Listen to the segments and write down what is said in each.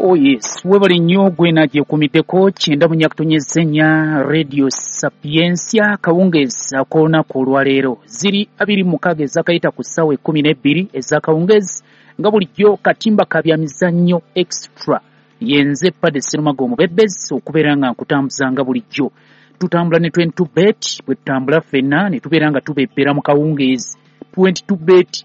Oh yes, webale nnyo gwena gyekumiddeko 94.4 Radio Sapientia kawungezi ak'olunaku olwaleero. Ziri 26 ezakayita ku ssaawa 12 ez'akawungezi nga bulijjo katimba ka byamizannyo extra. Yenze Padde Sserumaga omubebbezi okubeera nga nkutambuza nga bulijjo. Tutambula ne 22 bet, bwe tutambula ffenna ne tubeera nga tubebbera mu kawungeezi. 22 bet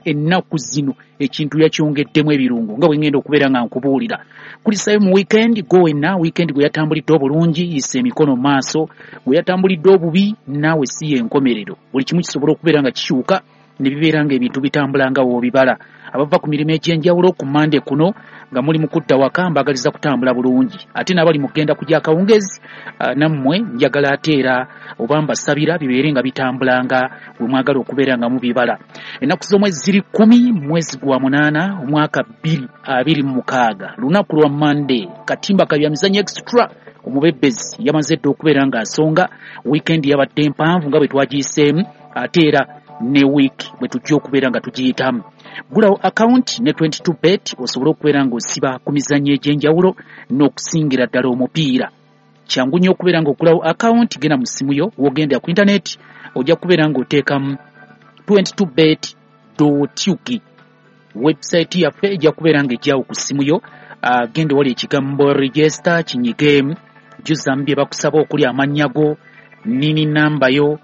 ennaku zino ekintu yakyongeddemu ebirungo nga bwe ngenda okubeera nga nkubuulira. Kulisayo mu weekend go wenna, weekend gwe yatambulidde obulungi, yisa emikono mu maaso, gwe yatambulidde obubi naawe si y'enkomerero. Buli kimu kisobola okubeera nga kikyuka ne bibeera ng'ebintu bitambula nga w'obibala. Abava ku mirimu egy'enjawulo ku Mande kuno nga muli mu kudda waka mbagaliza kutambula bulungi, ate n'abali mu kugenda kujja akawungezi nammwe njagala ate era oba mbasabira bibeere nga bitambula nga bwe mwagala okubeera nga mubibala. Ennaku z'omwezi ziri 10 mwezi gwa 8 omwaka 2026 lunaku lwa Mande. Katimba ka byamizannyo extra omubebbezi yamaze dda okubeera ng'asonga. Weekend yabadde mpanvu nga bwe twagiyiseemu, ate era ne week bwe tujja okubeera nga tugiyitamu. Gulawo account ne 22 bet osobole okubeera ng'osiba ku mizannyo egy'enjawulo n'okusingira ddala omupiira. Kyangu nnyo okubeera ng'ogulawo account, genda mu ssimu yo w'ogenda ku internet ojja kubeera ng'oteekamu 22bet.ug. Website yaffe ejja kubeera ng'ejjawo ku ssimu yo. Genda wali ekigambo register kinyigeemu, jjuzamu bye bakusaba okuli amannya go, nini namba yo,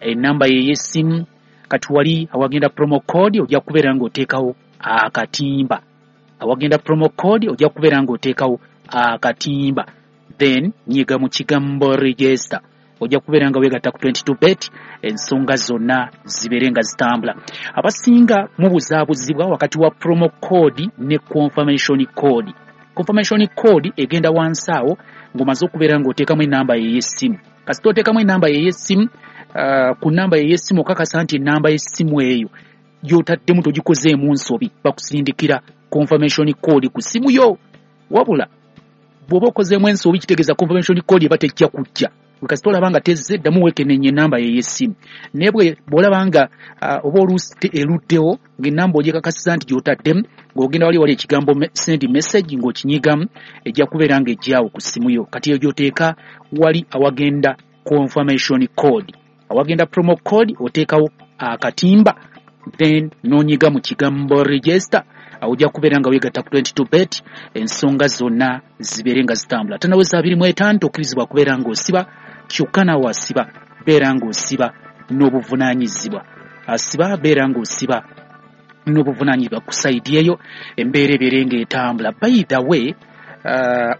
enamba ye ey'essimu. Kati wali awagenda promo code ojja kubeera ng'oteekawo akatimba. Awagenda promo code ojja kubeera ng'oteekawo akatimba, then nyiga mu kigambo register, ojja kubeera nga weegatta ku 22 bet, ensonga zonna zibeere nga zitambula. Abasinga mubuzaabuzibwa wakati wa promo code ne confirmation code. Confirmation code egenda wansi awo ng'omaze okubeera ng'oteekamu enamba ey'essimu. Kasita oteekamu enamba ey'essimu, ku namba ey'essimu okakasa nti enamba y'essimu eyo gy'otaddemu togikozeemu nsobi, bakusindikira confirmation code ku ssimu yo. Wabula bw'oba okozeemu ensobi kitegeeza confirmation code eba tejja kujja. Kasita olaba nga tezze, ddamu weekenneenye enamba ey'essimu. Naye bw'olaba nga oba oluusi eruddewo ng'ennamba ogyekakasiza nti gy'otaddemu, ng'ogenda wali wali ekigambo send message ng'okinyigamu, ejja kubeera ng'ejjaawo ku ssimu yo. Kati eyo gy'oteeka wali awagenda confirmation code. Awagenda promo code oteekawo akatimba, then n'onyiga mu kigambo register, awo ojja kubeera nga weegatta ku 22 bet, ensonga zonna zibeere nga zitambula. Tanaweza 25 tokkirizibwa kubeera ng'osiba, kyokka naawe asiba beera ng'osiba n'obuvunaanyizibwa. Asiba beera ng'osiba n'obuvunaanyizibwa ku sayidi eyo, embeera ebeere ng'etambula. By the way,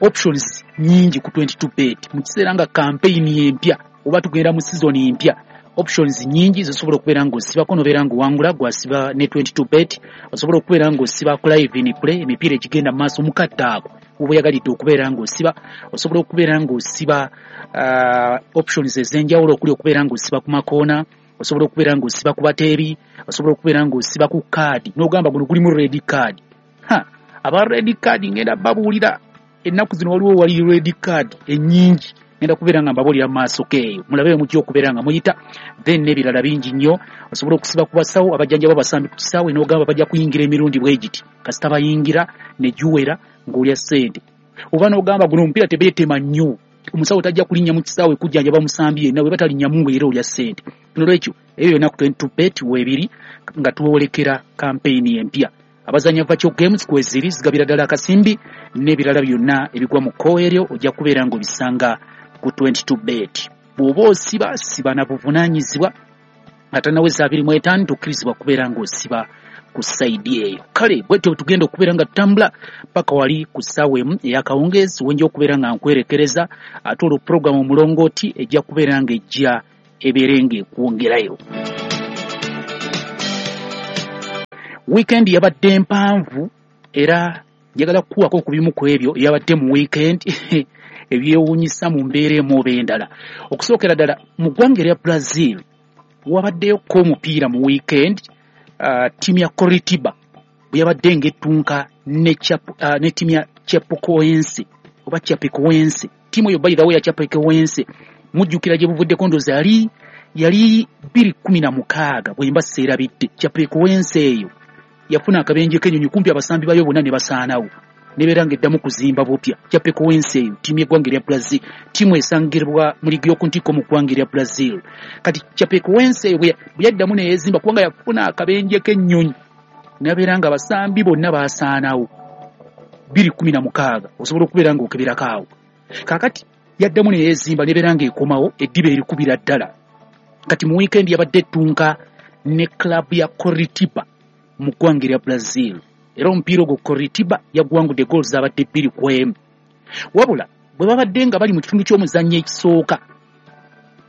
options nnyingi ku 22 bet. Mu kiseera nga campaign empya oba tugenda mu season empya, options nnyingi zisobola okubeera ng'osibako n'obeera ng'owangula. Gwasiba ne 22 bet osobola okubeera ng'osiba ku live in play, emipiira egigenda mu maaso mu kadde ako oba oyagalidde okubeera ng'osiba. Osobola okubeera ng'osiba options ez'enjawulo okuli okubeera ng'osiba ku makoona, osobola okubeera ng'osiba ku bateebi, osobola okubeera ng'osiba ku kaadi n'ogamba guno gulimu red card. Ha, aba red card ngenda babuulira ennaku zino waliwo wali red card ennyingi, ngenda kubeera nga mbabuulira mu maaso k'eyo, mulabe mujja okubeera nga muyita. Then n'ebirala bingi nnyo. Osobola okusiba ku basawo abajjanjaba abasambi ku kisaawe n'ogamba bajja kuyingira emirundi bwe giti, kasita bayingira ne giwera ng'olya ssente. Oba n'ogamba guno omupiira tebeetema nnyo, omusawo tajja kulinnya mu kisaawe kujjanjaba musambi yenna, bwe batalinnyamu ng'era olya ssente. Nolwekyo ebyo byonna ku 22 bet weebiri nga twolekera campaign empya. Abazannya virtual games kweziri zigabira ddala akasimbi n'ebirala byonna ebigwa mu kkowe eryo ojja kubeera ng'obisanga ku 22 bet. Bw'oba osiba siba na buvunaanyizibwa, nga tannaweza 25 tokkirizibwa kubeera ng'osiba ku sayidi eyo. Kale bwetyo tugenda okubeera nga tutambula paka wali ku ssaawa 1 ey'akawungeezi wenja okubeera nga nkwerekereza, ate olwo puroguramu omulongooti ejja kubeera ng'ejja ebeere ng'ekwongerayo. Weekend yabadde mpanvu era njagala kukuwako ku bimu ku ebyo yabadde mu weekend ebyewuunyisa mu mbeera emu oba endala. Okusookera ddala mu ggwanga erya Brazil wabaddeyo ko omupiira mu weekend, ttiimu ya Coritiba bwe yabadde ng'ettunka ne ttiimu ya Chapecoense oba Chapecoense. Ttiimu eyo by the way ya Chapecoense mujjukira gye buvuddeko, ndowooza yali 2016 bwe mba seerabidde. Chapecoense eyo yafuna akabenje k'ennyonyi kumpi abasambi bayo bonna ne basaanawo. Nebeera ng'eddamu kuzimba bupya. Chapecoense eyo ttiimu y'eggwanga erya Brazil, ttiimu esangibwa mu liigi y'oku ntikko mu ggwanga erya Brazil. Kati Chapecoense eyo bwe yaddamu neyeezimba, kubanga yafuna akabenje k'ennyonyi, nabeera nga abasambi bonna baasaanawo 2016, osobola okubeera ng'okeberako awo. Kaakati yaddamu neyeezimba, nebeera ng'ekomawo eddiba erikubira ddala. Kati mu wiikendi yabadde ettunka ne club ya Coritiba mu ggwanga erya Brazil, era omupiira ogwo Coritiba yaguwangudde goals zabadde 2-1. Wabula bwe babadde nga bali mu kitundu ky'omuzannyo ekisooka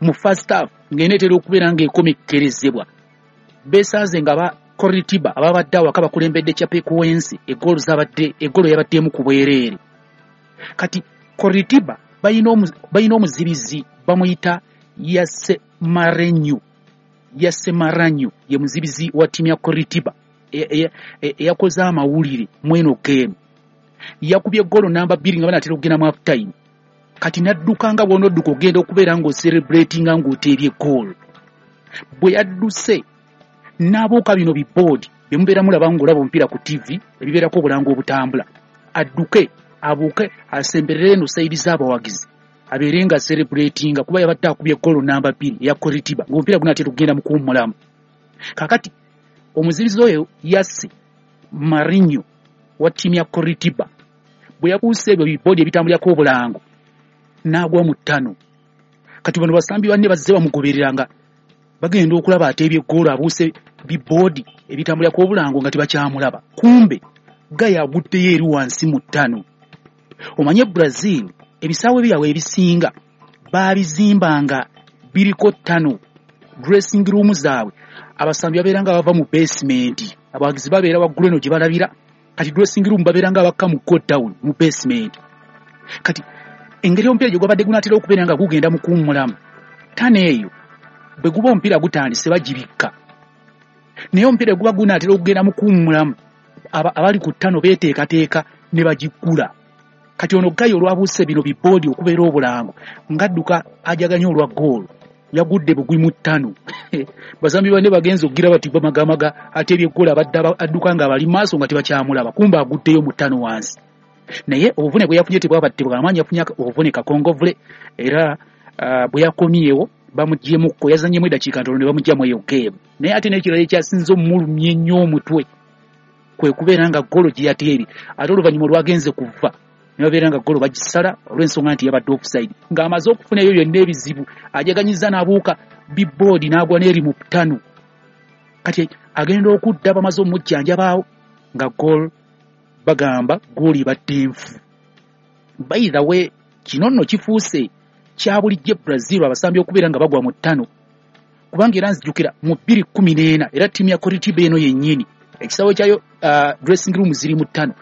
mu first half, ng'eneetera okubeera ng'ekomekkerezebwa, beesanze nga ba Coritiba ababadde awaka bakulembedde Chapecoense egoolo zabadde egoolo yabadde emu ku bwereere. Kati Coritiba balina omuzibizi bamuyita Yase Marenyo. Yase Maranyo ye muzibizi wa ttiimu ya Coritiba eyakoze amawulire mweno game. Yakubye goolo namba 2 nga banaatera okugenda mu half time. Kati n'adduka nga bw'onodduka ogenda okubeera ng'ocelebratinga ng'oteebye goolo. Bwe yadduse n'abuuka bino biboodi bye mubeera mulaba ng'olaba omupiira ku TV ebibeerako obulango obutambula, adduke abuuke asemberere eno sayidi z'abawagizi abeere nga celebratinga, kuba yabadde akubye goolo namba 2 eya Coritiba ng'omupiira gunaatera okugenda mu kuwummulamu. Kaakati omuzibizi oyo Yase Marinho wa ttiimu ya Coritiba bwe yabuuse ebyo biboodi ebitambulirako obulango n'agwa mu ttano. Kati bano basambi banne bazze bamugobereranga, bagenda okulaba ateebye eggoolo abuuse biboodi ebitambulirako obulango nga tebakyamulaba, kumbe gaya aguddeyo eri wansi mu ttano. Omanye Brazil ebisaawe byabwe ebisinga baabizimbanga biriko ttano, dressing room zaabwe abasambi babeera nga bava mu basement, abawagizi babeera waggulu eno gye balabira. Kati dressing room babeera nga bakka mu go down mu basement. Kati engeri omupiira gye gwabadde gunaatera okubeera nga gugenda mu kuwummulamu, ttano eyo bwe guba omupiira gutandise bagibikka, naye omupiira guba gunaatera okugenda mu kuwummulamu abali ku ttano beeteekateeka ne bagiggula. Kati ono gayo olwabuuse bino biboodi okubeera obulango ng'adduka ajaganya olwa goolo, yagudde bugwi mu ttano. Bazambi banne bagenze okugira bati bamagamaga ateebye eggoolo, abadde adduka nga abali maaso nga tebakyamulaba, kumbe aguddeyo mu ttano wansi. Naye obuvune bwe yafunye tebwabadde bw'amaanyi, yafunye obuvune kakongovule, era bwe yakomyewo bamuggyeemukko, yazannyemu eddakiika ntono ne bamuggyamu eyo game. Naye ate n'ekirala ekyasinze omulumya ennyo omutwe kwe kubeera nga goolo gye yateebye, ate oluvannyuma olwagenze kuva ne babeera nga goolo bagisala olw'ensonga nti yabadde offside. Ng'amaze okufuna ebyo byonna ebizibu, ajaganyizza n'abuuka biboodi n'agwa n'eri mu ttano. Kati agenda okudda bamaze omujjanjabaawo nga goal bagamba goolo ebadde nfu. By the way, kino nno kifuuse kya bulijjo Brazil abasambi okubeera nga bagwa mu ttano, kubanga era nzijukira mu 2014 era ttiimu ya Coritiba eno yennyini ekisaawe kyayo dressing room ziri mu ttano.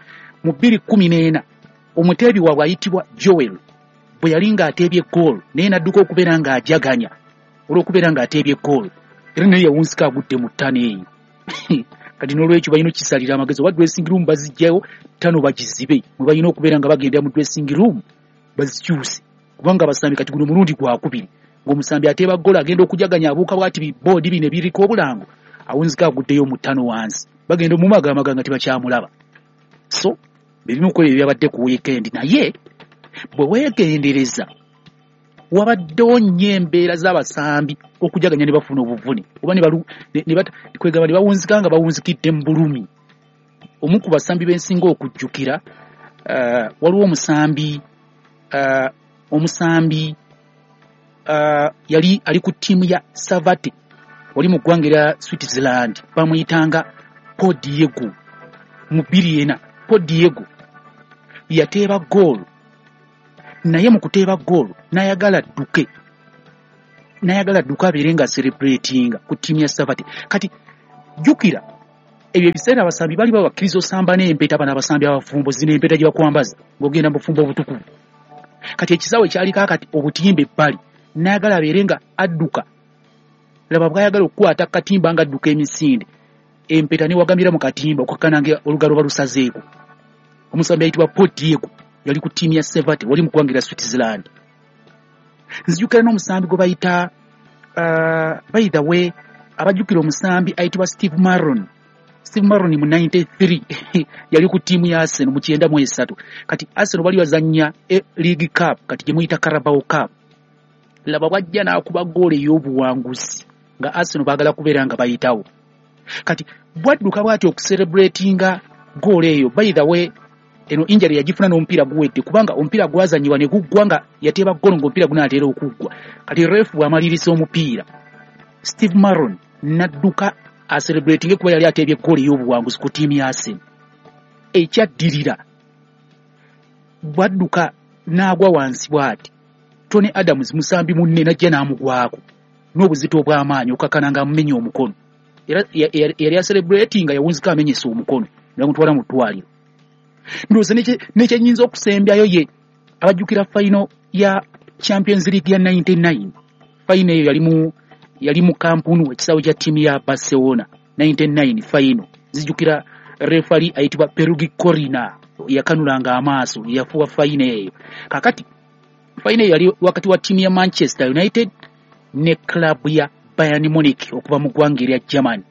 Mu 2014 omuteebi waabwe ayitibwa Joel bwe yali ng'ateebye goolo, naye n'adduka okubeera ng'ajaganya olw'okubeera ng'ateebye goolo, era naye yawunzika agudde mu ttano eyo. Kati n'olwekyo balina okukisalira amagezi, oba dressing room baziggyayo ttano bagizibe, mwe balina okubeera nga bagendera mu dressing room bazikyuse, kubanga abasambi kati guno mulundi gwakubiri ng'omusambi ateeba goolo agenda okujaganya abuuka bw'ati biboodi bino ebiriko obulango, awunzika aguddeyo mu ttano wansi, bagenda omumagamaga nga tebakyamulaba. So ebimu ku ebyo byabadde ku weekend. Naye bwe weegendereza wabaddewo nnyo embeera z'abasambi okujaganya ne bafuna obuvune, oba kwegamba ne bawunzika nga bawunzikidde mu bulumi. Omu ku basambi b'ensinga okujjukira, waliwo omusambi yali ali ku ttiimu ya Savate wali mu ggwanga erya Switzerland, bamuyitanga Paul Diego. Mu 2004 Paul Diego yateeba goolo, naye mu kuteeba goolo n'ayagala adduke, n'ayagala adduke abeere nga celebratinga ku ttiimu ya Savate. Kati jjukira ebyo ebiseera abasambi bali babakkiriza osamba n'empeta, bano abasambi abafumbo zino empeta gye bakwambaza ng'ogenda mu bufumbo obutukuvu. Kati ekisaawe kyaliko akati obutimba ebbali, n'ayagala abeere nga adduka, laba bw'ayagala okukwata katimba ng'adduka emisinde, empeta newagamira mu katimba okukakkana nga olugalo balusazeeko. Omusambi ayitibwa Paul Diego yali ku ttiimu ya Sevate wali mu ggwanga erya Switzerland. Nzijukira n'omusambi gwe bayita by the way, abajjukira omusambi ayitibwa Steve Maron. Steve Marrone mu 93 yali ku ttiimu ya Arsenal mu 93. Kati Arsenal bali bazannya League Cup, kati gye muyita Carabao Cup. Laba bw'ajja n'akuba ggoolo ey'obuwanguzi nga Arsenal baagala kubeera nga bayitawo. Kati bwadduka bw'ati okucelebratinga ggoolo eyo. By the way, eno injury yagifuna n'omupiira guwedde, kubanga omupiira gwazannyibwa ne guggwa nga yateeba ggoolo ng'omupiira gunaatera okuggwa. Kati ref bw'amaliriza omupiira, Steve Marrone n'adduka acelebratinge kuba yali ateebye ggoolo ey'obuwanguzi ku ttiimu ya Arsenal. Ekyaddirira, bwadduka n'agwa wansi bw'ati, Tony Adams musambi munne n'ajja n'amugwako n'obuzito obw'amaanyi okukakana ng'amumenya omukono. Era yali acelebratinga yawunzika amenyesa omukono ne bamutwala mu ddwaliro. Ndowooza n'ekyennyinza okusembyayo ye abajjukira final ya Champions League ya 99. Final eyo yali mu Camp Nou, ekisaawe kya ttiimu ya Barcelona. 99 final. Nzijukira referee ayitibwa Pierluigi Collina yakanulanga amaaso, yafuwa final eyo. Kaakati final eyo yali wakati wa ttiimu ya Manchester United ne club ya Bayern Munich okuva mu ggwanga erya Germany.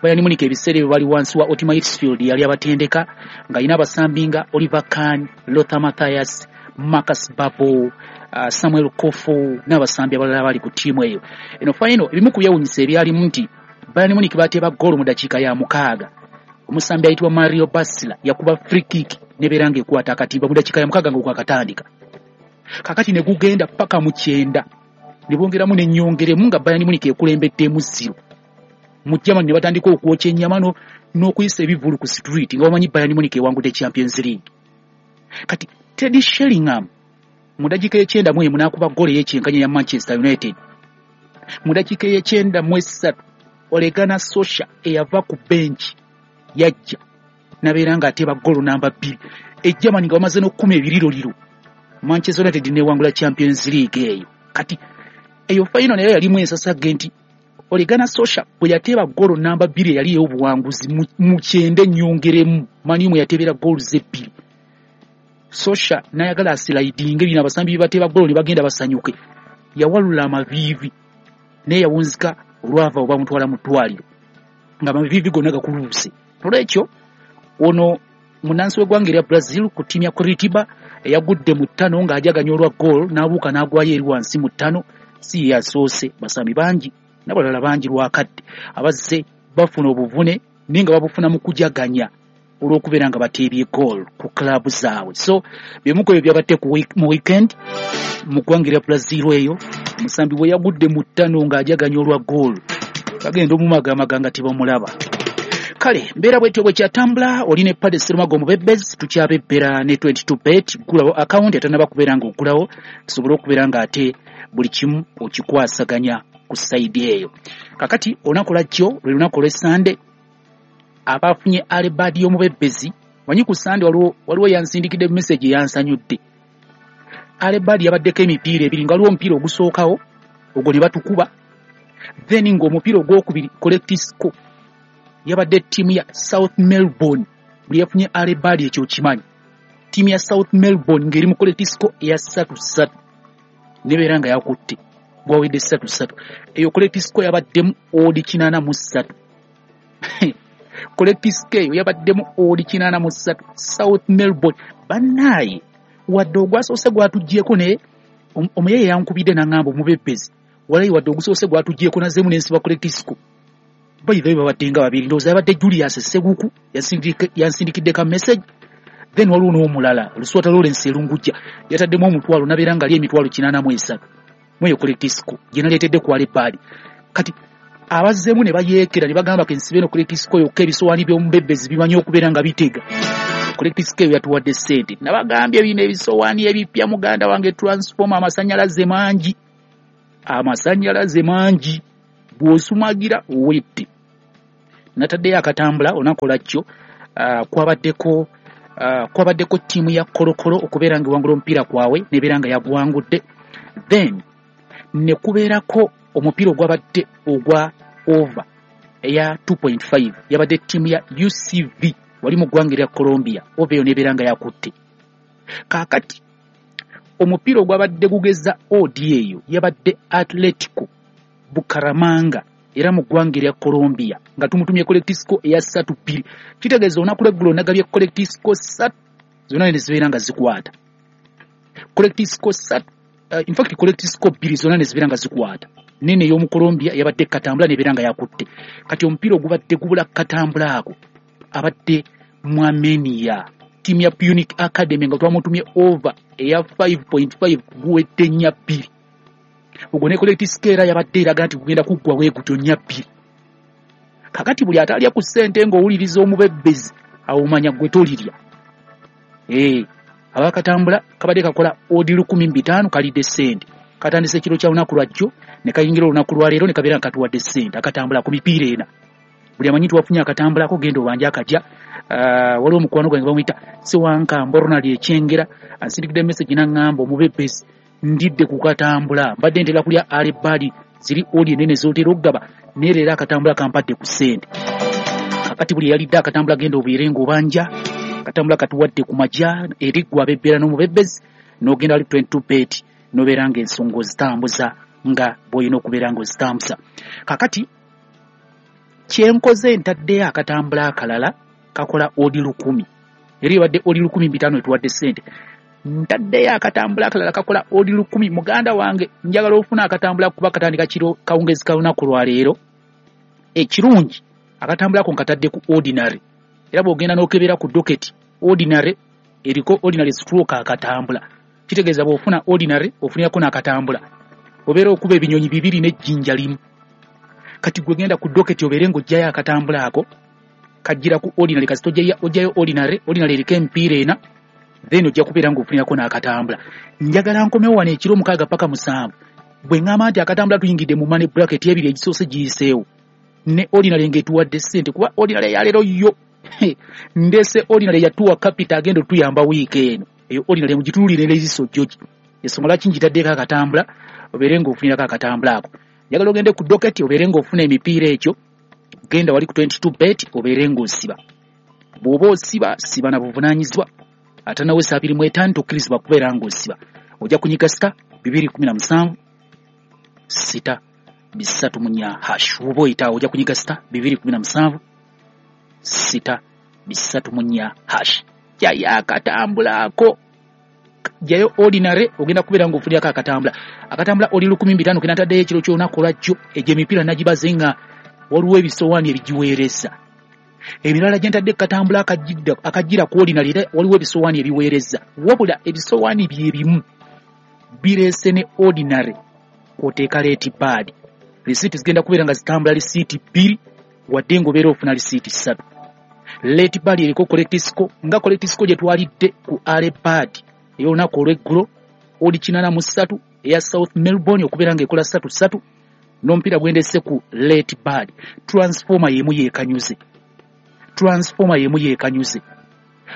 Bayern Munich ebiseera ebyo bali wansi wa Ottmar Hitzfeld, yali abatendeka ng'alina abasambi nga Oliver Kahn, Lothar Matthäus, Marcus Babbel, Samuel Kofo n'abasambi abalala bali ku ttiimu eyo. Eno final ebimu ku byewuunyisa ebyalimu nti Bayern Munich bateeba ggoolo mu dakiika ya 6. Omusambi ayitibwa Mario Basler yakuba free kick n'ebeera ng'ekwata akatimba mu dakiika ya 6 ng'okwakatandika. Kaakati ne gugenda paka mu 90 ne bongeramu n'ennyongeremu nga Bayern Munich ekulembeddemu 0. Mu Germany ne batandika okwokya ennyama n'okuyisa ebivvulu ku street nga bamanyi Bayern Munich ewangudde Champions League. Kati Teddy Sheringham mu dakiika ey'ekyenda mu emu n'akuba ggoolo ey'ekyenkanya ya Manchester United. Mu dakiika ey'ekyenda mu esatu Ole Gunnar Solskjaer eyava ku bench yajja n'abeera ng'ateeba ggoolo namba 2. E Germany nga bamaze n'okukuma ebiriroliro, Manchester United n'ewangula Champions League eyo. Kati eyo final nayo yalimu ensasagge nti Ole Gunnar Solskjaer bwe yateeba ggoolo namba 2 eyali ey'obuwanguzi mu 90 ennyongeremu, Man U mwe yateebera ggoolo ebbiri. Solskjaer n'ayagala aslidinge bino abasambi bye bateeba ggoolo ne bagenda basanyuke. Yawalula amaviivi naye yawunzika olwava oba bamutwala mu ddwaliro ng'amaviivi gonna gakuluuse. Nolwekyo ono munnansi w'eggwanga erya Brazil ku ttiimu ya Coritiba eyagudde mu ttano ng'ajaganya olwa ggoolo n'abuuka n'agwayo eri wansi mu ttano, si ye yasoose. Basambi bangi n'abalala bangi lwakadde abazze bafuna obuvune naye nga babufuna mu kujaganya olw'okubeera nga bateebye goal ku club zaabwe. So byemu ku ebyo byabadde mu weekend mu ggwanga erya Brazil eyo, omusambi bwe yagudde mu ttano ng'ajaganya olwa goal bagenda omumagamaga nga tebamulaba. Kale mbeera bwetyo bwe kyatambula. Oli ne Pade Serumago omubebezi, tukyabebbera ne 22 bet. Ggulawo akawunti atannaba kubeera ng'oggulawo, tusobole okubeera ng'ate buli kimu okikwasaganya ku side eyo. Kakati olunaku lwajjo lwe lunaku olw'Essande, abafunye early bird y'omubebezi. Manyi ku Sande waliwo yansindikidde message eyansanyudde. Early bird yabaddeko emipiira ebiri, nga waliwo omupiira ogusookawo ogwo ne batukuba, then ng'omupiira ogwokubiri correct score yabadde ttiimu ya South Melbourne. Buli yafunye early bird ekyo kimanyi, ttiimu ya South Melbourne ng'eri mu correct score eya 3-3 nebeera nga yakutte gwawedde 3-3. Eyo correct score yabaddemu odd 83. Correct score eyo yabaddemu odd 83, South Melbourne. Bannaaye, wadde ogwasoose gwatuggyeko, naye omuyaye yankubidde n'aŋŋamba, "Omubebezi, walayi wadde ogusoose gwatuggyeko, nazzeemu n'ensiba correct score." By the way, babadde nga babiri, ndowooza yabadde Julius Seguku yansindikidde ka message, then waliwo n'omulala Luswata Lawrence Erungujja yataddemu 500 nabeera nga ali 883 mweyo correct score gye naleetedde ku early bird. Kati abazzeemu ne bayeekera ne bagamba kensibe eno correct score yokka, ebisowaani by'omubebezi bimanyi okubeera nga bitega. Correct score eyo yatuwadde ssente. Nabagambye bino ebisowaani ebipya, muganda wange, transformer, amasannyalaze mangi, amasannyalaze mangi, bw'osumagira owedde. Nataddeyo akatambula olunaku lwajjo, kwabaddeko ttiimu ya Kolokolo okubeera nga ewangula omupiira kwawe nebeera nga yaguwangudde, then ne kubeerako omupiira ogwabadde ogwa over eya 2.5, yabadde ttiimu ya UCV wali mu ggwanga erya Colombia, over eyo nebeera nga yakutte. Kaakati omupiira ogwabadde gugeza odd eyo yabadde Atletico Bucaramanga era mu ggwanga erya Colombia, nga tumutumye correct score eya 3-2. Kitegeeza olunaku lweggulo nagabye correct score 3 zonna ne zibeera nga zikwata. Correct score 3, in fact correct score 2 zonna ne zibeera nga zikwata. Nene ey'omu Colombia yabadde katambula nebeera nga yakutte. Kati omupiira ogubadde gubula katambula ako abadde mu Armenia, ttiimu ya Punic Academy, nga twamutumye over eya 5.5 guwedde 4-2. Ogwo ne correct score era yabadde eraga nti gugenda kuggwa bwe gutyo 4-2. Kakati buli atalya ku ssente ng'owuliriza omubebbezi awo omanya gwe tolirya. Abakatambula kabadde kakola odi 15,000 kalidde ssente. Katandise ekiro kya lunaku lwajjo ne kayingira olunaku lwaleero ne kabeera nga katuwadde ssente. Akatambula ku mipiira ena. Buli amanyi nti wafunye akatambulako genda obanje akajja. Waliwo omukwano gwange bamuyita Sewankambo Ronald Ekyengera ansindikidde message n'aŋŋamba omubebbezi ndidde ku katambula, mbadde ntera kulya alebaali ziri odi ennene z'otera okugaba, naye leero akatambula kampadde ku ssente. Kakati buli eyalidde akatambula genda obeere ng'obanja. Akatambula katuwadde ku majja eri ggwe abebbera n'omubebbezi, n'ogenda wali 22 bet n'obeera ng'ensonga ozitambuza nga bw'olina okubeera ng'ozitambuza. Kakati kyenkoze ntaddeyo akatambula akalala kakola odi 1,000, era ebadde odi 1,500 etuwadde ssente. Ntaddeyo akatambula akalala kakola odi 1,000. Muganda wange njagala ofuna akatambula kuba katandika kiro kawungezi ka lunaku lwaleero. Ekirungi akatambulako nkatadde ku ordinary, era bw'ogenda n'okebera ku docket ordinary eriko ordinary stroke akatambula. Kitegeeza bw'ofuna ordinary ofunirako n'akatambula, obeera okuba ebinyonyi bibiri n'ejjinja limu. Kati gwe genda ku docket obeere ng'oggyayo akatambula ako kajjira ku ordinary, kasita oggyayo ordinary, ordinary eriko emipiira ena, then ojja kubeera ng'ofunirako n'akatambula. Njagala nkomewo wano ekiro 6 paka 7 bwe ŋŋamba nti akatambula tuyingidde mu money bracket ebiri egisoose giyiseewo ne ordinary ng'etuwadde ssente, kuba ordinary yaleero yo ndese ordinary yatuwa capital agenda otuyamba wiiki eno. Eyo ordinary mugitunuulire n'eriiso jjogi. Ensonga lwaki ngitaddeko akatambula obeere ng'ofunirako akatambula ako. Njagala ogende ku docket obeere ng'ofuna emipiira egyo, genda wali ku 22 bet obeere ng'osiba. Bw'oba osiba siba na buvunaanyizibwa, ate nawe 25 tokkirizibwa kubeera ng'osiba. Ojja kunyiga star 217 6 3 hash. Bw'oba oyitaawo ojja kunyiga star 217 6 3 hash. Jjayo akatambulako, jjayo ordinary ogenda kubeera ng'ofunirako akatambula. Akatambula oli 15,000 ke nataddeyo ekiro ky'olunaku lwajjo. Egyo emipiira nagibaze nga waliwo ebisowaani ebigiweereza. Emirala gye ntadde katambula akajjira ku ordinary era waliwo ebisowaani ebiweereza. Wabula ebisowaani bye bimu bireese ne ordinary kw'oteeka late bad. Risiiti zigenda kubeera nga zitambula risiiti 2 wadde ng'obeera ofuna risiiti 3. Late bad eriko correct score nga correct score gye twalidde ku early bad ey'olunaku olw'eggulo odi 83 eya South Melbourne okubeera ng'ekola 3-3 n'omupiira gwendese ku late bad. Transformer y'emu yeekanyuze. Transformer y'emu yeekanyuze.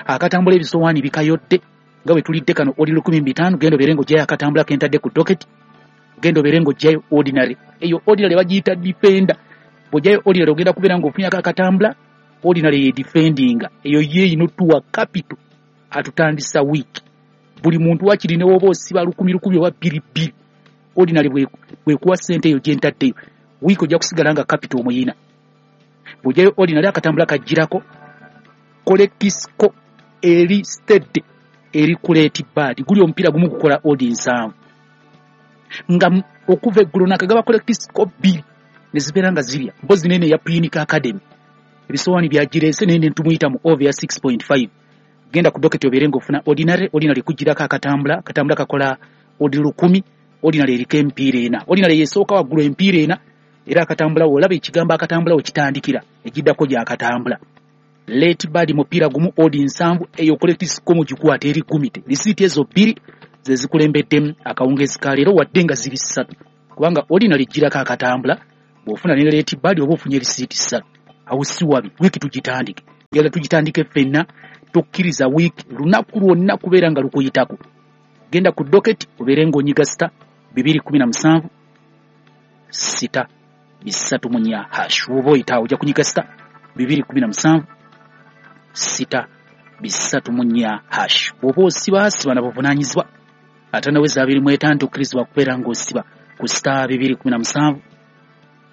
Akatambula ebisowaani bikayodde nga bwe tulidde kano odi 15,000. Genda obeere ng'oggyayo akatambula ke ntadde ku docket, genda obeere ng'oggyayo ordinary. Eyo ordinary bagiyita defender. Bw'oggyayo ordinary ogenda kubeera ng'ofunyako akatambula. Ordinary ye defendinga, eyo ye ino tuwa capital atutandisa week. Buli muntu wakiri ne woba osiba 1,000 oba 2,200, ordinary bwekuwa ssente eyo gye ntaddeyo wiiki ojja kusigala nga capital omuyina. Bw'oggyayo ordinary akatambula kajjirako correct score eri steady eri ku late bad. Guli omupiira gumu gukola odi 7 nga okuva eggulo nakagaba correct score 2 ne zibeera nga zirya. Mpozi nene ya Punic Academy ebisowaani byagireese naye ne tumuyita mu over ya 6.5. Genda ku docket obeere ng'ofuna ordinary, ordinary kujjirako akatambula, akatambula kakola odi 1,000, ordinary eriko emipiira ena. Ordinary yesooka waggulu emipiira ena, era akatambula olaba ekigambo akatambula wekitandikira ekiddako gy'akatambula. Late bad mupiira gumu odi 7, eyo correct score mugikwata eri gumite. Risiiti ezo 2 ze zikulembeddemu akawungezi ka leero wadde nga ziri 3, kubanga ordinary ejjirako akatambula, bw'ofuna ne late bad oba ofunye risiiti 3. Awo si wabi, wiiki tugitandike. Njagala tugitandike ffenna, tokkiriza wiiki lunaku lwonna kubeera nga lukuyitako. Genda ku docket obeere ng'onyiga star 217 6 3 hash. Bw'oba oyitaawo ojja kunyiga star 217 6 3 hash. Bw'oba osiba siba na buvunaanyizibwa, ate naweza 25 tokkirizibwa kubeera ng'osiba ku star 217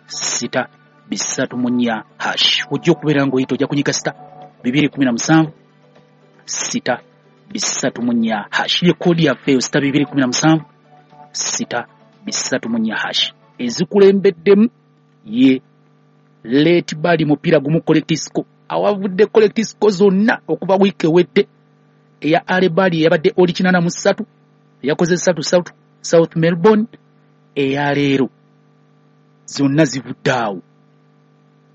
6 3 4 hash. Ojja okubeera ng'oyita, ojja kunyiga star 217 6 3 4 hash. Ye koodi yaffe eyo, star 217 6 3 4 hash. Ezikulembeddemu ye late bali mupiira gumu correct score, awavudde correct score zonna okuva wiiki ewedde. Eya alebali eyabadde oli 83, eyakoze 3 3 South Melbourne, eyaleero zonna zivudde awo.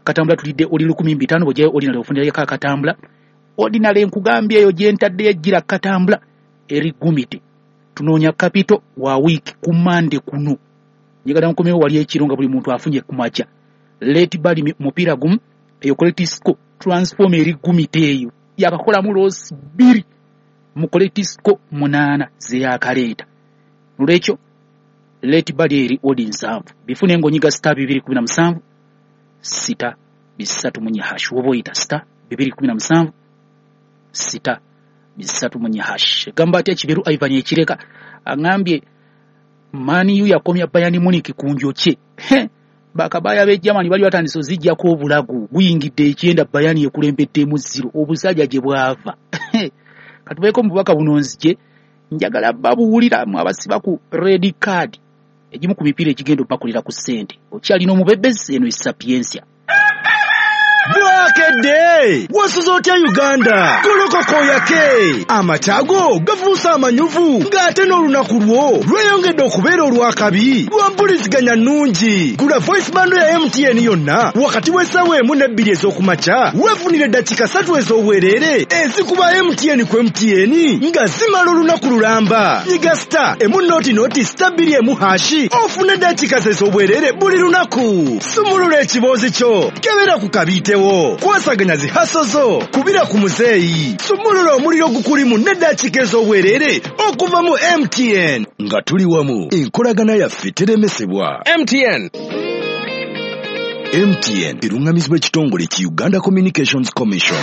Katambula tulidde oli 1500, bw'ojjayo ordinary ofunirayoko akatambula. Ordinary nkugambye eyo gyentaddeyo ejjira katambula erigumite. Tunoonya capital wa wiiki ku Mande kuno, njagala nkomewo wali ekiro nga buli muntu afunye ku makya. Late bali mupiira gumu, eyo correct score transform erigumite eyo yakakolamu loss 2 mu correct score 8 zeyakaleeta. Nolwekyo late bali eri odi 70, bifune ng'onyiga star 217 6 3 4 hash. Woba oyita star 217 6 3 4 hash. Gamba atya Kiberu Ivan ekireka aŋambye Man U yakomya Bayern Munich ku njokye. Bakabaya b'e Germany bali batandise ozijjako obulago, guyingidde ekyenda, Bayern ekulembeddemu 0. Obusajja gye bwava. Katubeeko mu bubaka buno nzije, njagala babuwulira mu abasiba ku red card, egimu ku mipiira egigenda opakulira ku ssente. Okyalina omubebezi eno esapiensia. Bwakedde wasuza otya Uganda? Golokokoyake amakyago gafuuse amanyuvu, ng'ate n'olunaku lwo lweyongedde okubeera olwakabi lwa mpuliziganya nnungi. Gula voice bundle ya MTN yonna wakati w'essaawa 1 ne 2 ez'okumakya, weefunire eddakiika 3 ez'obwereere ezikuba MTN ku MTN nga zimala olunaku lulamba. Nyiga star 1 0 0 star 2 1 hash ofune eddakiika ez'obwereere buli lunaku. Sumulula ekiboozi kyo, kebera ku kabiitewo, kwasaganya zi hustle zo, kubira ku muzeeyi, sumulula omuliro gukulimu n'eddakiika ez'obwereere okuva mu MTN. Nga tuli wamu, enkolagana yaffe teremesebwa. MTN. MTN eruŋŋamizibwa ekitongole ki Uganda Communications Commission.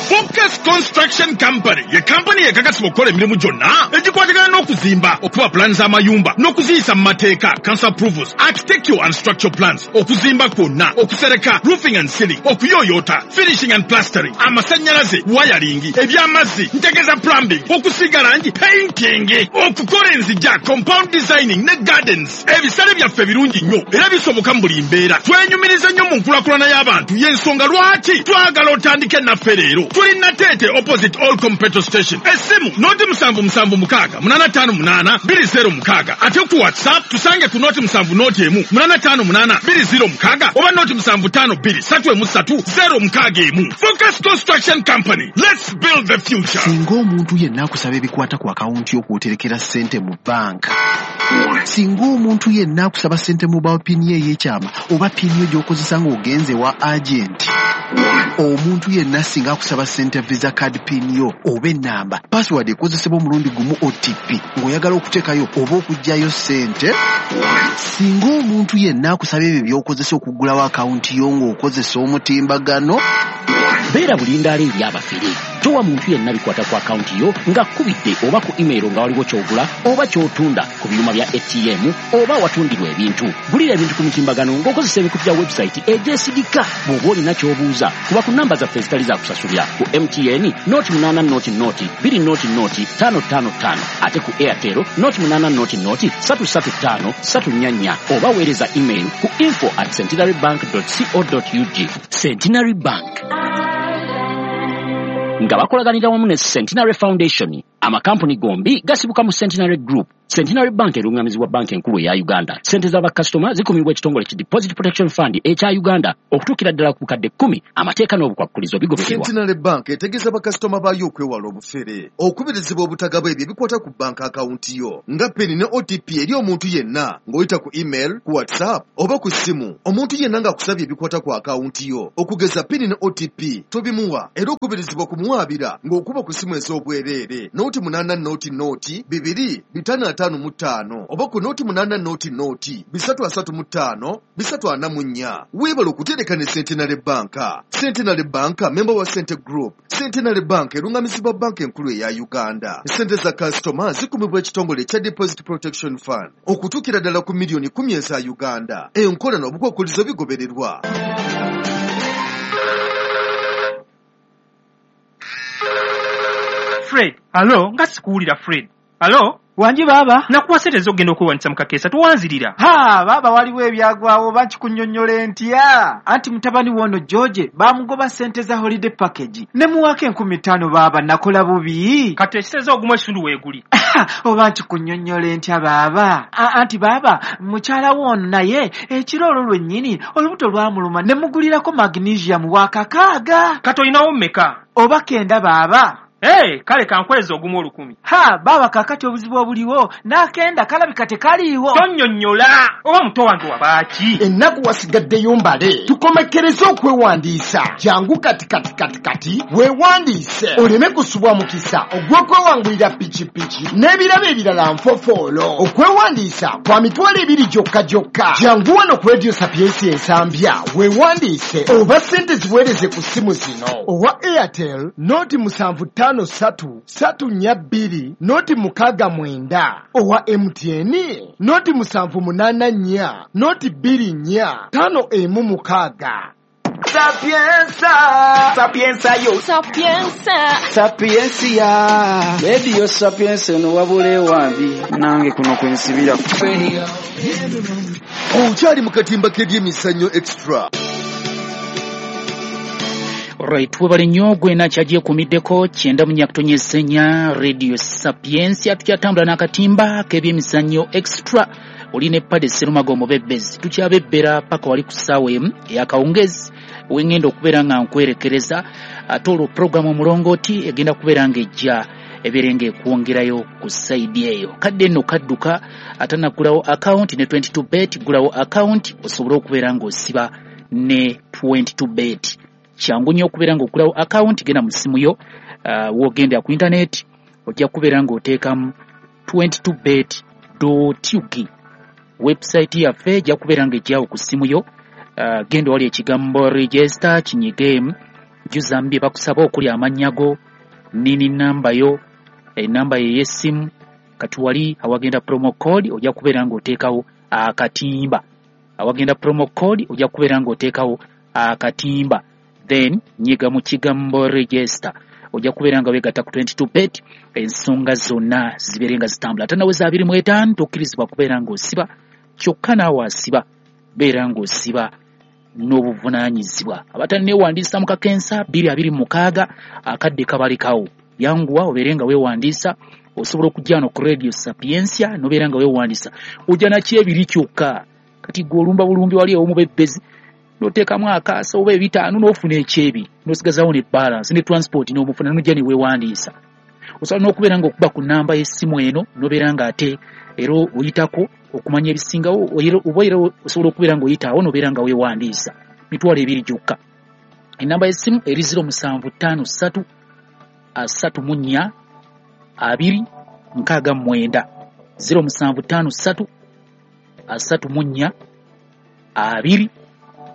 Focus Construction Company ye kampani ekakasibwa okukola emirimu gyonna egikwatagana n'okuzimba, okuba pulaani z'amayumba n'okuziyisa mu mateeka, council approvals, architectural and structural plans, okuzimba kwonna, okusereka, roofing and ceiling, okuyooyoota, finishing and plastering, amasannyalaze, wiring, ebyamazzi, ntegeza plumbing, okusiiga langi, painting, okukola enzija, compound designing ne gardens. Ebisale byaffe birungi nnyo era bisoboka mu buli mbeera. Twenyumiriza nnyo mu nkulaakulana y'abantu, y'ensonga lwaki twagala otandike naffe leero. Tuli Nateete, opposite All Petrol Station. Essimu 077 658 8 206. Ate ku WhatsApp tusange ku 070 1 858 206 oba 075 2 3 1 3 061. Focus Construction Company, let's build the future. Singa omuntu yenna akusaba ebikwata ku akawunti y'okwoterekera ssente mu banka, singa omuntu yenna akusaba ssente mobile PIN ye ey'ekyama oba PIN yo gy'okozesa ng'ogenze wa agenti, omuntu yenna singa akusaba ssente Visa card PIN yo oba ennamba, password ekozesebwa omulundi gumu, OTP, ng'oyagala okuteekayo oba okuggyayo ssente, singa omuntu yenna akusaba ebyo by'okozesa okuggulawo akawunti yo ng'okozesa omutimbagano, Beera bulindaala eri abafere. Towa muntu yenna bikwata ku akawunti yo ng'akkubidde oba ku email nga waliwo ky'ogula oba ky'otunda ku byuma bya ATM oba awatundirwa ebintu. Gulira ebintu ku mitimbagano ng'okozesa emikutu gya website egyesigika. Bw'oba olina ky'obuuza, kuba ku namba zaffe ezitali za kusasulira: ku MTN 080 0 2 0 5 5 5, ate ku Airtel 080 0 3 3 5 3 4 4, oba weereza email ku info@centenarybank co ug. Centenary Bank nga bakolaganira wamu ne Centenary Foundation. Amakampuni gombi gasibuka mu Centenary Group. Centenary Bank erungamizibwa Banka Enkulu eya Uganda. Sente z'abakasitoma zikumibwa ekitongole ki Deposit Protection Fund ekya Uganda okutuukira ddala ku bukadde 10. Amateeka n'obukwakkulizo bigobererwa. Centenary Bank etegeeza bakasitoma baayo okwewala obufere. Okubirizibwa obutagaba ebyo ebikwata ku banka akawunti yo nga PIN ne OTP eri omuntu yenna ng'oyita ku email, ku WhatsApp oba ku ssimu. Omuntu yenna ng'akusabye ebikwata ku akawunti yo okugeza PIN ne OTP, tobimuwa, era okubirizibwa kumuwaabira ng'okuba ku ssimu ez'obwereere. 0 8 0 0 2 5 5 oba ku 0 8 0 0 3 35 344. Weebale okutereka ne Centenary Bank. Centenary Bank memba wa Sente Group. Centenary Bank erungamizibwa banka enkulu eya Uganda. Sente za kasitoma zikumibwa ekitongole ekya Deposit Protection Fund okutuukira ddala ku miliyoni 10 eza Uganda. Enkola n'obukwakkulizo bigobererwa. Fred, alo, nga sikuwulira Fred. Alo? Wangi baaba. Nakuwa ssente ez'okugenda okwewandiisa mu kakeesa towanzirira. Ha, baaba waliwo ebyagwawo oba nkikunnyonnyola ntya? Anti mutabani w'ono George baamugoba ssente za holiday package. Ne muwaako 5,000 baaba nakola bubi. Kati ekiseza ogumu ekitundu weeguli. Oba nkikunnyonnyola ntya baaba? Anti baaba mukyala w'ono naye ekiro olwo lwennyini olubuto lwamuluma ne mugulirako magnesium wa 6. Kati olinawo mmeka? Oba 9 baaba. Hey, kale kankweza ogumu 1,000. Ha, baaba kaakati obuzibu obuliwo n'akenda kalabika tekaliiwo. Tonnyonnyola oba muto wange wabaaki? Ennaku wasigaddeyo mbale tukomekkereze okwewandiisa. Jangu kati kati kati kati weewandiise oleme kusubwa mukisa ogw'okwewangulira pikipiki n'ebirabo ebirala nfofoolo. Okwewandiisa kwa 20,000 gyokka gyokka. Jangu wano ku Radio Sapiensia Ensambya weewandiise oba ssente ziweereze ku ssimu zino: owa Airtel 0 7 5 3 3 4 2 0 6 9, owa MTN 0 7 8 4 0 2 4 5 1 6. Sapienza, Sapienza yo, Sapienza, Sapiensia. Radio Sapienza eno wabula ewambi nange kuno kwensibira. Okyali mu katimba k'ebyemizannyo Extra. Right, webale nnyo gwena kyagyekuumiddeko 94.4 Radio Sapiensia. Tukyatambula n'akatimba k'ebyemizannyo Extra. Oli ne Pade Serumaga omubebbezi. Tukyabebbera paka wali ku ssaawa 1 ey'akawungeezi wengenda okubeera nga nkwerekereza. Ate olwo puroguramu omulongooti egenda kubeera ng'ejja ebeere ng'ekwongerayo ku sayidi eyo. Kadde nno kadduka atanaggulawo akawunti ne 22 bet, ggulawo akawunti osobole okubeera ng'osiba ne 22 bet. Kyangu nnyo okubeera ng'oggulawo akawunti. Genda mu ssimu yo, w'ogenda ku intaneti ojja kubeera ng'oteekamu 22 bet ug. Website yaffe ejja kubeera ng'ejjawo ku ssimu yo. Genda wali ekigambo register kinyigeemu, jjuzamu bye bakusaba okuli amannya go, nini namba yo, enamba ye ey'essimu. Kati wali awagenda promo code ojja kubeera ng'oteekawo akatimba. Awagenda promo code ojja kubeera ng'oteekawo akatimba, then nyiga mu kigambo register, ojja kubeera nga weegatta ku 22 bet, ensonga zonna zibeere nga zitambula. Ate naweza 25 tokkirizibwa kubeera ng'osiba kyokka, naawe asiba beera ng'osiba n'obuvunaanyizibwa. Abatanneewandiisa mu kakensa 2026 akadde kabalekawo, yanguwa obeere nga weewandiisa. Osobola okujja wano ku Radio Sapiensia n'obeera nga weewandiisa, ojja nakyebiri kyokka. Kati gwe olumba bulumbi wali ew'omubebbezi n'oteekamu akaasa oba 5 n'ofuna ekyebiri n'osigazawo ne balance ne transport n'omufuna n'ojja ne weewandiisa. Osobola n'okubeera ng'okuba ku nnamba y'essimu eno n'obeera ng'ate era oyitako okumanya ebisingawo, oba era osobola okubeera ng'oyitaawo n'obeera nga weewandiisa. 20,000 gyokka. Ennamba y'essimu eri 0753 34 2 69, 0753 34 2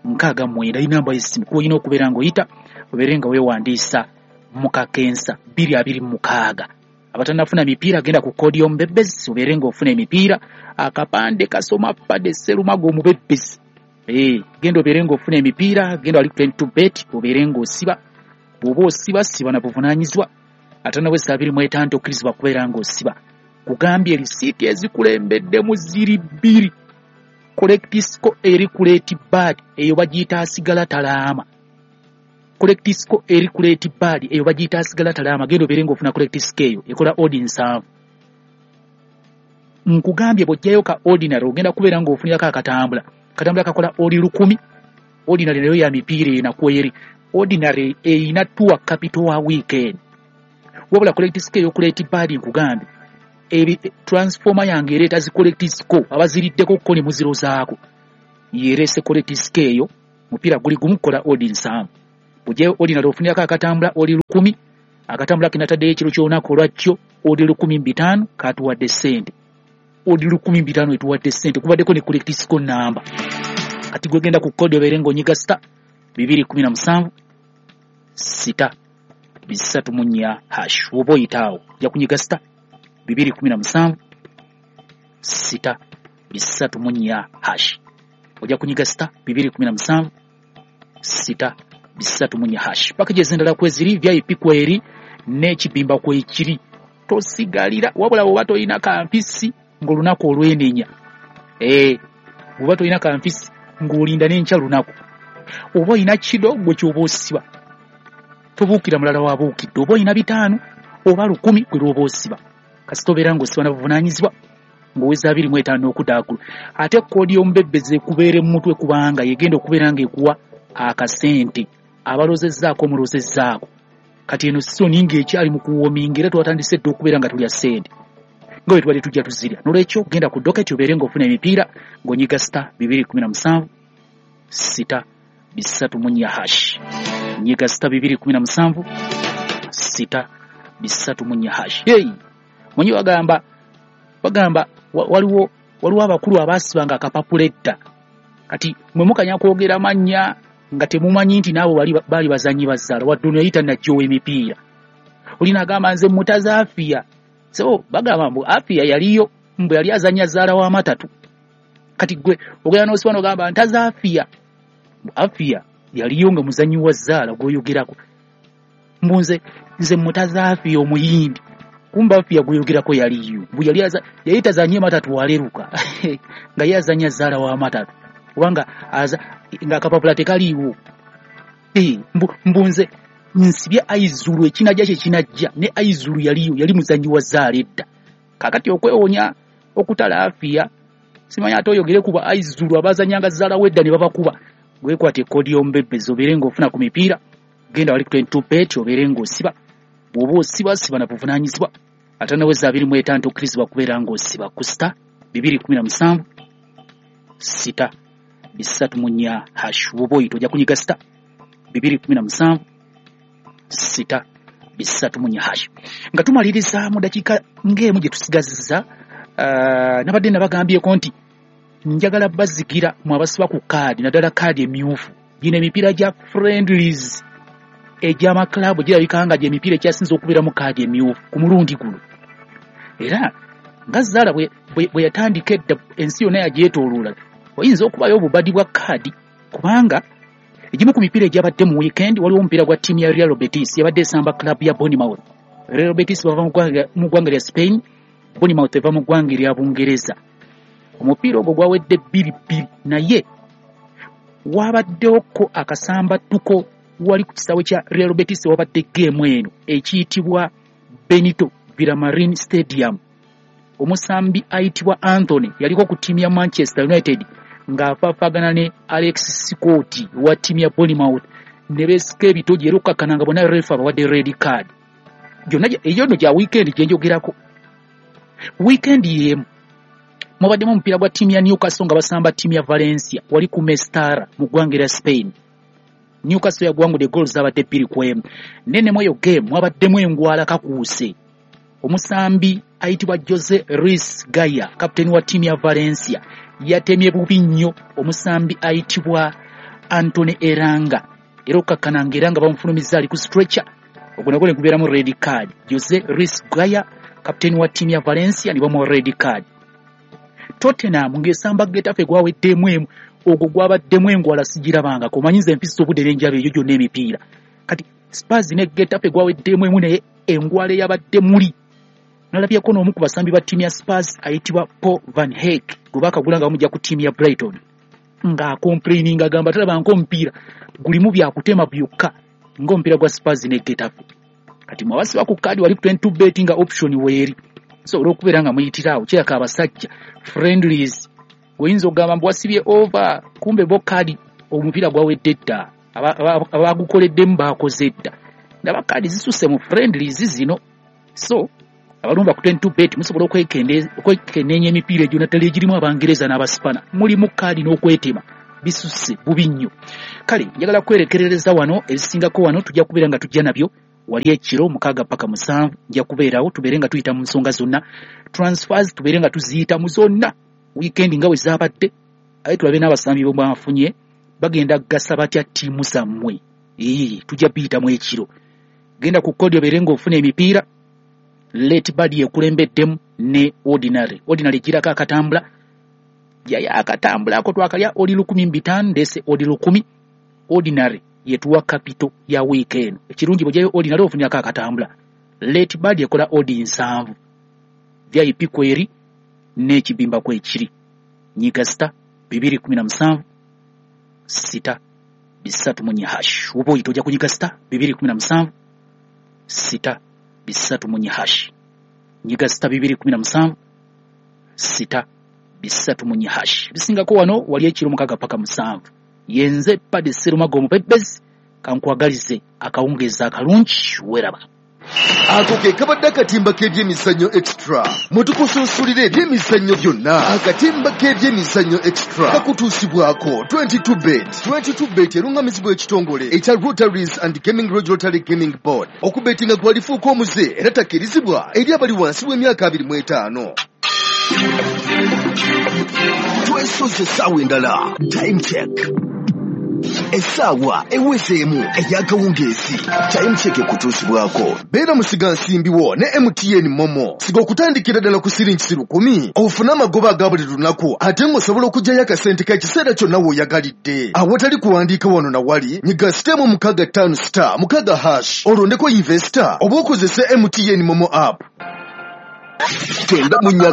69 inamba y'essimu kuba olina okubeera ng'oyita obeere nga weewandiisa mu kakensa 2026. Abatannafuna mipiira, genda ku koodi y'omubebbezi obeere ng'ofuna emipiira. Akapande kasoma Pade Serumaga omubebbezi. Genda obeere ng'ofuna emipiira, genda wali 22 bet obeere ng'osiba. Bw'oba osiba, siba na buvunaanyizibwa. Ate naweza 25 tokkirizibwa kubeera ng'osiba. Kugambye risiiti ezikulembeddemu ziri bbiri. Correct score eri ku late bird, eyo bagiyita asigala talaama. Correct score eri ku late bird, eyo bagiyita asigala talaama. Genda obeere ng'ofuna correct score, eyo ekola odd 7. Nkugambye bw'ojjayo ka ordinary ogenda kubeera ng'ofunirako akatambula. Katambula kakola oli 1,000. Ordinary nayo ya mipiira ena kweri. Ordinary eyina tour capital wa weekend. Wabula correct score eyo ku late bird, nkugambye ebi transformer yange ereeta zi correct score, abaziriddeko ko ne muzirozaako yerese correct score eyo. Mupiira guli gumu kola odd 7. Bw'ojjayo ordinary ofunirako akatambula oli 1,000. Akatambula kinataddeyo ekiro ky'olunaku olwakyo. Odi 1500 katuwadde ssente. Odi 1500 etuwadde ssente kubaddeko ne correct score number. Kati gwe genda ku code obeere ng'onyiga star 217 6 3 hash. Oba oyitaawo ojja kunyiga star 217 6 3 hash. Ojja kunyiga star 217 6 3 hash. Packages endala kweziri VIP kweri n'ekibimba kwekiri. Tosigalira wabula bw'oba tolina kampisi ng'olunaku olwenenya. Bw'oba tolina kampisi ng'olinda n'enkya lunaku. Oba olina kido gwe ky'oba osiba. Tobuukira mulala wabuukidde. Oba olina 500 oba 1000 gwe lw'oba osiba. Kasita obeera ng'osiba na buvunaanyizibwa ng'oweza 25 okudda waggulu. Ate koodi y'omubebbezi ekubeera mu mutwe kubanga yegenda okubeera ng'ekuwa akasente. Abalozezzaako omulozezzaako. Kati eno sizoni ng'ekyali mu kuwoominga era twatandise dda okubeera nga tulya ssente nga bwe tubadde tujja tuzirya. Noolwekyo genda ku doketi obeere ng'ofuna emipiira ng'onyiga star 217 6 3 hash. Nyiga star 217 6 3 hash. Hey, mwenye bagamba waliwo abakulu abaasibanga akapapula edda. Kati mwe mukanya kwogera mannya nga temumanyi nti n'abo bali bazannyi bazaala wadde ono yayita najjowa emipiira. Olina agamba nze mutaza Afia. So bagamba mbu Afia yaliyo mbu yali azannya zaala w'amatatu. Kati gwe ogenda n'osiba n'ogamba ntaza Afia. Mbu Afia yaliyo nga muzannyi wa zaala gw'oyogerako. Mbu nze mutaza Afia omuyindi. Kumbe Afia gw'oyogerako yaliyo. Mbu yali tazannye matatu waleruka. Nga ye azannya zaala w'amatatu. Kubanga nga akapapula tekaliiwo. Mbu nze nsibye Aizulu ekinajja kye kinajja ne Aizulu yaliyo yali muzannyi wa zaala edda. Kaakati okwewonya okutala Afia simanyi ate oyogere kuba Aizulu abazannyanga zaala w'edda ne babakuba. Gwekwata ekkoodi y'omubebbezi obeere ng'ofuna ku mipiira. Genda wali ku 22 bet obeere ng'osiba. Bw'oba osiba siba na buvunaanyizibwa. Atanaweza 25 okkirizibwa kubeera ng'osiba ku star 217 6 3 hash. Bw'oba oyita ojja kunyiga star 217 6 3 hash. Nga tumaliriza mu dakiika ng'emu gye tusigazizza, nabadde nabagambyeko nti njagala bazigira mu abasiba ku kaadi naddala kaadi emyufu. Gino emipiira gya friendlies egy'amaklabu girabika nga gy'emipiira ekyasinze okubeeramu kaadi emyufu ku mulundi guno. Era nga Zaala bwe yatandika edda ensi yonna yagyetooloola, oyinza okubayo obubadi bwa kaadi kubanga egimu ku mipiira egyabadde mu weekend waliwo omupiira gwa ttiimu ya Real Betis yabadde esamba club ya Bournemouth. Real Betis bava mu ggwanga lya Spain, Bournemouth eva mu ggwanga erya Bungereza. Omupiira ogwo gwawedde 2-2 naye wabaddewoko akasambattuko wali ku kisaawe kya Real Betis wabadde geemu eno ekiyitibwa Benito Villamarin Stadium. Omusambi ayitibwa Anthony yaliko ku ttiimu ya Manchester United ng'afaafaagana ne Alex Scott wa ttiimu ya Bournemouth ne beesika ebitogi era okukkakkana nga bonna refa abawadde red card. Gyonna eyo nno gya weekend gye njogerako. Weekend y'emu mubaddemu omupiira gwa ttiimu ya Newcastle nga basamba ttiimu ya Valencia wali ku Mestalla mu ggwanga erya Spain. Newcastle yagwangudde goals zabadde 2-1. Nene mu eyo game mwabaddemu engwala kakuuse. Omusambi ayitibwa Jose Luis Gaya, kapiteeni wa ttiimu ya Valencia, yatemye bubi nnyo omusambi ayitibwa Anthony Elanga era okukkakkana nga era nga bamufulumizza ali ku stretcher. Ogwo nagwo ne gubeeramu red card. Jose Luis Gaya, kapiteeni wa ttiimu ya Valencia, ne bamuwa red card. Tottenham ng'esamba Getafe gwaweddemu emu, ogwo gwabaddemu engwala sigirabangako. Omanyi nze empisa obudde n'enjaba eyo gyonna emipiira. Kati Spurs ne Getafe gwaweddemu emu naye engwala eyabadde muli. Nalabyeko n'omu ku basambi ba ttiimu ya Spurs ayitibwa Paul Van Hecke gwe baakagula nga bamujja ku ttiimu ya Brighton ng'akomplaininga agamba talabanga omupiira gulimu byakutema byokka ng'omupiira gwa Spurs ne Getafe. Kati mwabasiba ku kaadi wali ku 22 bet nga option weeri. Sobola okubeera nga muyitira awo kiraka abasajja friendlies oyinza okugamba mbu wasibye over kumbe bo kaadi omupiira gwawedde dda abagukoleddemu baakoze dda. Ndaba kaadi zisusse mu friendlies zino. So abalumba ku 22 bet musobola okwekenneenya emipiira egyo naddala egirimu Abangereza n'Abasipana mulimu kaadi n'okwetema bisusse bubi nnyo. Kale njagala kwerekerereza wano ebisingako wano tujja kubeera nga tujja nabyo Wali ekiro 6 paka 7 nja kubeerawo, tubeere nga tuyita mu nsonga zonna, transfers tubeere nga tuziyitamu zonna, weekend nga bwe zaabadde, aye tulabe n'abasambi bwe mwafunye bagenda kugasa batya ttiimu zammwe. Tujja biyitamu ekiro. Genda ku kodi obeere ng'ofuna emipiira. Late Bad ekulembeddemu ne Ordinary. Ordinary girako akatambula, jayo akatambula ako twakalya odi 1500, ndeese odi 1000. Ordinary yetuwa kapito ya wiiki eno. Ekirungi bw'ojjayo Ordinary ofunirako akatambula. Late Bad ekola odi 7, VIP kweri n'ekibimba kwekiri. Nyiga star 217 6 3 hash. Oba oyita ojja kunyiga star 217 6 3 hash. Nyiga star 217 6 3 hash. Bisingako wano wali ekiro 6 paka 7. Yenze Padi Serumago omupepezi, kankwagalize akawungeezi akalungi, weraba. Ako ke kabadde akatimba k'ebyemizannyo extra. Mwe tukusunsulira ebyemizannyo byonna. Akatimba k'ebyemizannyo extra kakutuusibwako 22 bet. 22 bet erungamizibwa ekitongole ekya Rotaries and Gaming Regulatory Gaming Board. Okubetinga gwalifuuka omuze era takkirizibwa eri abali wansi w'emyaka 25. Twesoze essaawa endala. Time check. Essaawa ewezeemu ey'akawungeezi. Time check ekutuusibwako. Beera musigansimbi wo ne MTN Momo. Siga okutandikira ddala ku siringi 10,000 ofune amagoba aga buli lunaku, ate ng'osobola okuggyayo akasente k'ekiseera kyonna w'oyagalidde. Awatali kuwandiika wano na wali, nyiga sitemu 65 star 6 hash olondeko investor oba okozese MTN Momo app. Tenda munya.